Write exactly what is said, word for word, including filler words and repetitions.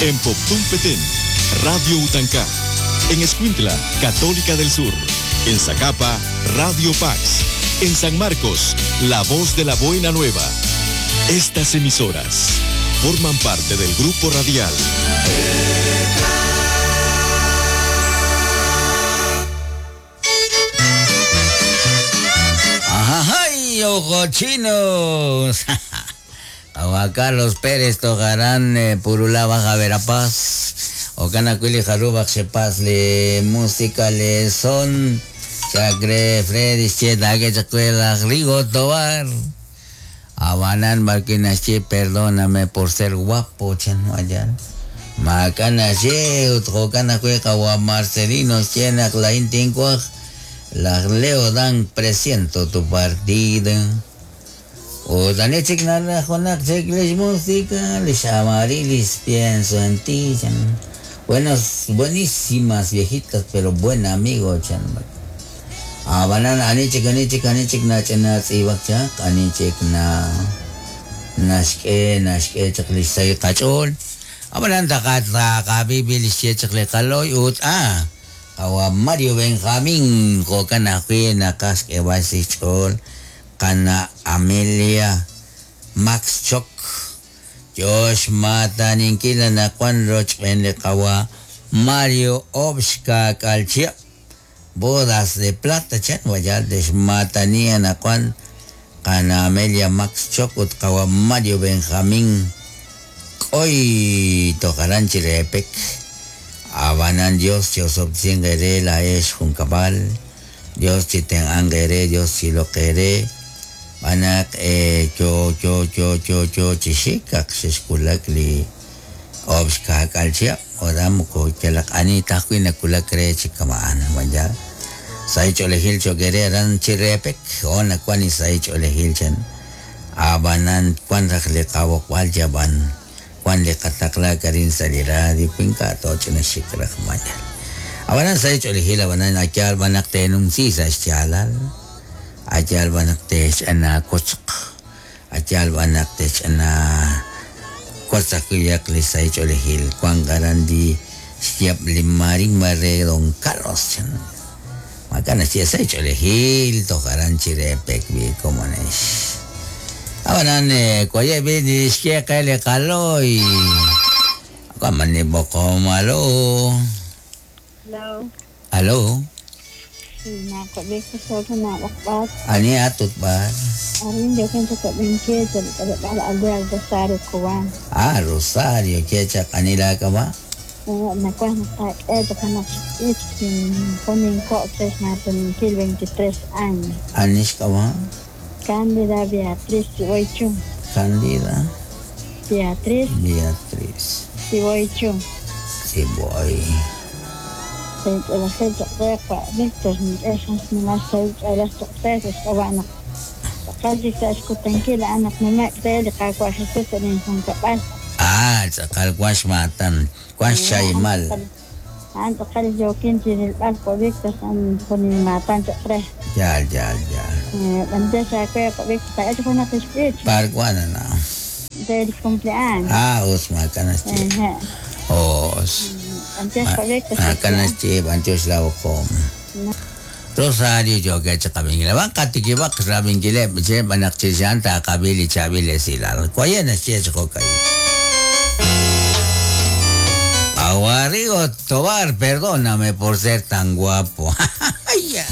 En Poptún Petén, Radio Utancá. En Escuintla, Católica del Sur. En Zacapa, Radio Pax. En San Marcos, La Voz de la Buena Nueva. Estas emisoras forman parte del grupo radial. ¡Ay, ojo chinos! Juan Carlos Pérez Tojarán, eh, Purulá, Baja Verapaz. Ocanacuili, Jaruba, Xepaz, le música, le son. Chacre, Freddy, Cheta, Chacuela, Rigo, Tobar. Abanán, Barquinache, perdóname por ser guapo, chan, allá. Macanache, Utjocana, Cueca, Marcelino, Chena, Claín, Tincuaj. La Leo Dan, presiento tu partida. O Danechik, Narajonak, Checles, música, les amarilis, pienso en ti, chan. Buenas, buenísimas viejitas, pero buen amigo, chan. Abanan, anichik, anichik, anichik, nachena, tzibak, chak, anichik, na, nashke, nashke, chaklis, say, kachol. Abanan, takat, takabibilis, chakli, kaloy, ut, ah. Awa Mario Benjamín, Jocana, Juena, Casque, Basichol, Cana Amelia, Max Choc, Josh Mata, Ninkila, Nacuan Roch, Benlekawa, Mario Obshka, Calchia, Bodas de Plata, Chan, Guayaldes, Matania, Nacuan, Cana Amelia, Max Choc, Utkawa, Mario Benjamín, Hoy tocarán Chirepec. Abanan Dios, Dios obtiene la es juncabal, Dios si ten angere, Dios si lo quere, banak eh yo yo yo yo yo chishikak shishkulakli obshka kalchia, odamuko chelak anita kuina kulakre chikamaan, vaya. Saich olehil chogere ran chirepek, ona kwani saich olehil chen. Abanan kwan rakle kawok wal jaban. Juan le katakla karin salira di pinka to china shikrak manya. Abanan sa hecho elegir abanan achal banak tenum si sa chalal. Achal banak te ana kochk. Achal banak te ana kochak yak le sa hecho elegir Juan Garandi siap limari mare don Carlos chan. Macana si sa hecho elegir to garan chirepek bi como nes. Abanan koye bi di sheke le kaloi. Kamani boko malo. Hello. Hello. Na ko bi ko so na wakbat. Ani atut ba? Arin yo kento ko benche te ala aldea Rosario Cubán. Ah, Rosario, checha kanila ka ba? Na ko na eh to kana ponen coches na veintitrés años. Anis ka ba? Cándida Beatriz Siboichu. Cándida Beatriz Beatriz Siboichu. Siboy. Ah, tzakal kwash matan, kwash chaymal. Ya, ya, ya. Parguana na. Del cumpleaños. Ah, Osma, canasti. Os. Canasti, bantios la okom. Rosario yo que chakabingile ban katikibak rabingile che banakchishanta kabili chabile silal. Kwayena che chokay. Aguarigo Tobar, perdóname por ser tan guapo. Ay, ya.